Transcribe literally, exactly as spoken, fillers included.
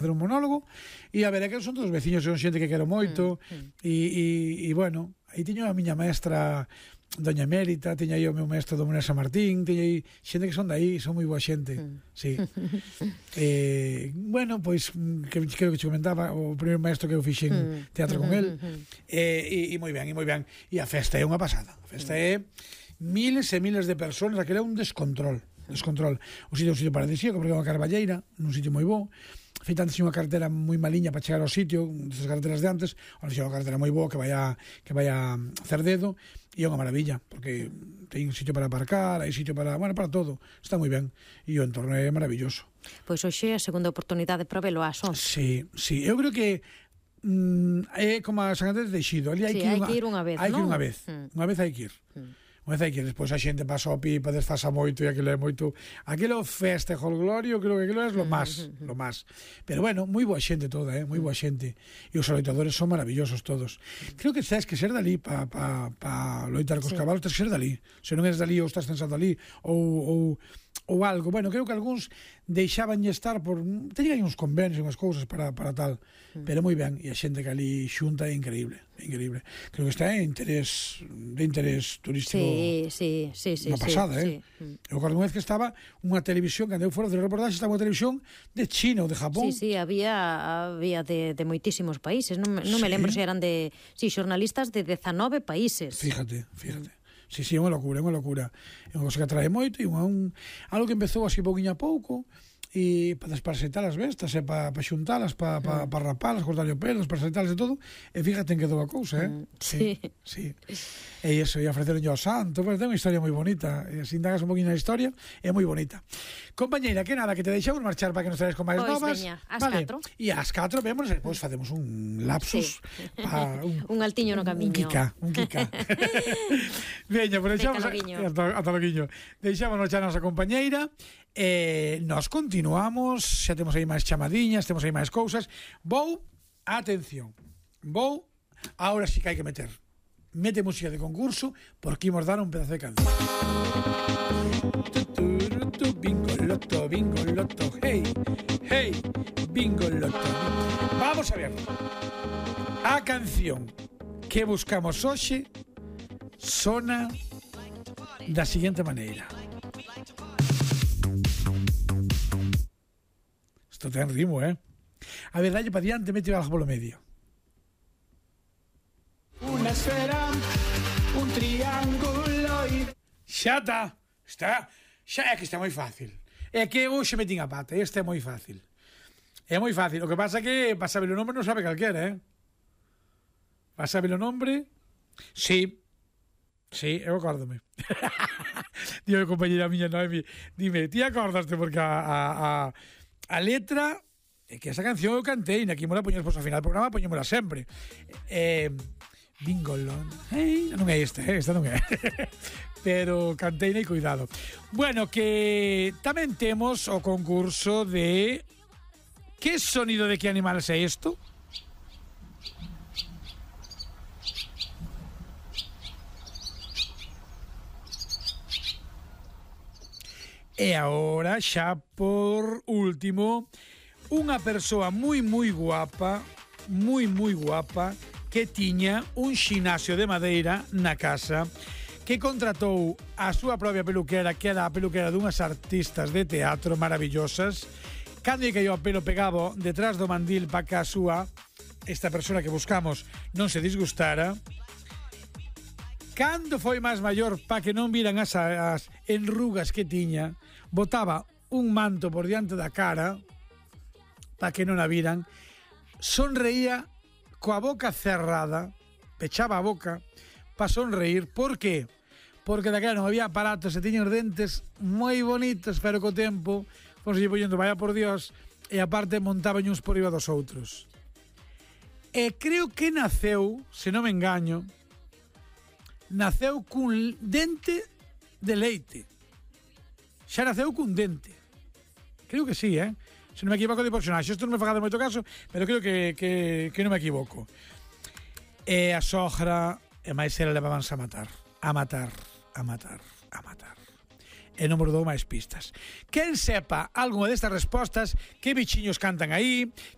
facer un monólogo e a ver, que son todos veciños, son xente que quero moito e, e, e bueno, aí tiño a miña maestra Doña Emérita, tiña aí o meu maestro Domínguez San Martín, tiña aí xente que son daí, son moi boa xente, sí. eh, bueno, pois que, creo que te comentaba o primeiro maestro que eu fixen teatro con el, eh, e, e moi ben, e moi ben, e a festa é unha pasada, a festa é miles e miles de persoas, aquele é un descontrol, descontrol. O sitio é un sitio paradisíaco porque é unha carballeira, nun sitio moi bo. Feita antes unha carretera moi maliña para chegar ao sitio, desas carreteras de antes, ahora xe unha carretera moi boa que vai a, que vai a Cerdedo, e é unha maravilla, porque ten sitio para aparcar, hai sitio para, bueno, para todo, está moi ben, e o entorno é maravilloso. Pois hoxe é a segunda oportunidade para velo ás once. Sí, sí, eu creo que mm, é como a San Andrés de Eixido, ali hai sí, que ir hai que ir unha vez, hai non? que ir unha vez, mm. unha vez hai que ir. Mm. Unha vez hai que ir, despois a xente pasa ao pipa, desfasa moito e aquilo é moito, aquilo festa e jolgorio, creo que aquilo é lo máis, mm-hmm. lo máis. Pero bueno, moi boa xente toda, eh, moi boa xente. E os loitadores son maravillosos todos. Creo que tens que ser dali para pa, pa loitar cos sí. cabalos, tens que ser dali. Se non eres dali ou estás pensando ali ou, ou ou algo, bueno, creo que algúns deixaban estar por, teñen aí uns convenios e unhas cousas para, para tal, mm. pero moi ben, e a xente que ali xunta é increíble, é increíble. Creo que está en interés de interés turístico. Sí, sí, sí, sí, unha pasada, sí, eh. Sí. Eu recordo unha vez que estaba unha televisión, que andeu fora de reportaxe, estaba unha televisión de China ou de Japón. Sí, sí, había había de, de moitísimos países, non, non sí. me lembro se eran de, sí, xornalistas de dezanove países. Fíjate, fíjate. Mm. Sí, sí, é unha locura, é unha locura. É unha cosa que atrae moito e unha, un, algo que empezou así pouquinho a pouco e para desparasitar as bestas e para pa xuntalas, para pa, pa rapalas, cortarlle o pelo, desparasitalas e todo, e fíjate en que dou a cousa, eh? Sí. Sí. E iso, e ofreceron ao santo, pero ten unha historia moi bonita, e se indagas un poquinho na historia, é moi bonita. Compañeira, que nada, que te deixamos marchar para que nos traes con máis pois novas. Veña, ás vale. catro. E ás catro vemos, e depois facemos un lapsus sí. pa, un, un altiño no camiño. Un quica, un quica. Veña, por deixamos ata, ata loguiño. Deixámonos xa a nosa compañeira. Eh, nos continuamos, xa temos aí máis chamadiñas, temos aí máis cousas. Vou, atención, vou, ahora sí que hai que meter mete música de concurso porque imos dar un pedazo de canción. Bingo loto, bingo loto, hey, hey, bingo loto. Vamos a ver. A canción que buscamos hoxe sona da seguinte maneira. Isto ten ritmo, eh? A ver, dalle para diante, mete algo polo medio. Una esfera, un triángulo y... Xa está, está, xa é que está moi fácil. É que hoxe metín a pata, este é moi fácil. É moi fácil, o que pasa é que para saber o nombre non sabe calquera, eh? Para saber o nombre... Sí, sí, eu acórdome. Dime, compañera miña Noemi, dime, ti acordaste porque a, a, a, a letra... É que esa canción eu cantei, na que mola poñemos pois, ao final do programa, poñémola sempre. Eh... Bingolón. Hey, non é esta, eh? Esta non é. Pero cantei e cuidado. Bueno, que tamén temos o concurso de que sonido de que animal é isto? E agora, xa por último, unha persoa moi, moi guapa, moi, moi guapa, que tiña un xinasio de madeira na casa, que contratou a súa propia peluquera, que era a peluquera dunhas artistas de teatro maravillosas. Cando lle caiu a pelo pegado detrás do mandil para que a súa, esta persona que buscamos, non se disgustara. Cando foi máis maior, para que non viran as, as enrugas que tiña, botaba un manto por diante da cara, para que non a viran, sonreía coa boca cerrada, pechaba a boca para sonreír. Por qué? Porque daquela non había aparatos e tiña os dentes moi bonitos, pero co tempo fomos lle poñendo, vaya por Dios, e aparte montaban uns por riba dos outros. E creo que naceu, se non me engaño, naceu cun dente de leite. Xa naceu cun dente. Creo que sí, eh? Se non me equivoco de personaxe. Isto non me fagade moito caso, pero creo que, que, que non me equivoco. E a sogra e máis ela levabanse a matar. A matar, a matar, a matar. E non me dou máis pistas. Quen sepa algunha destas respostas, que bichiños cantan aí,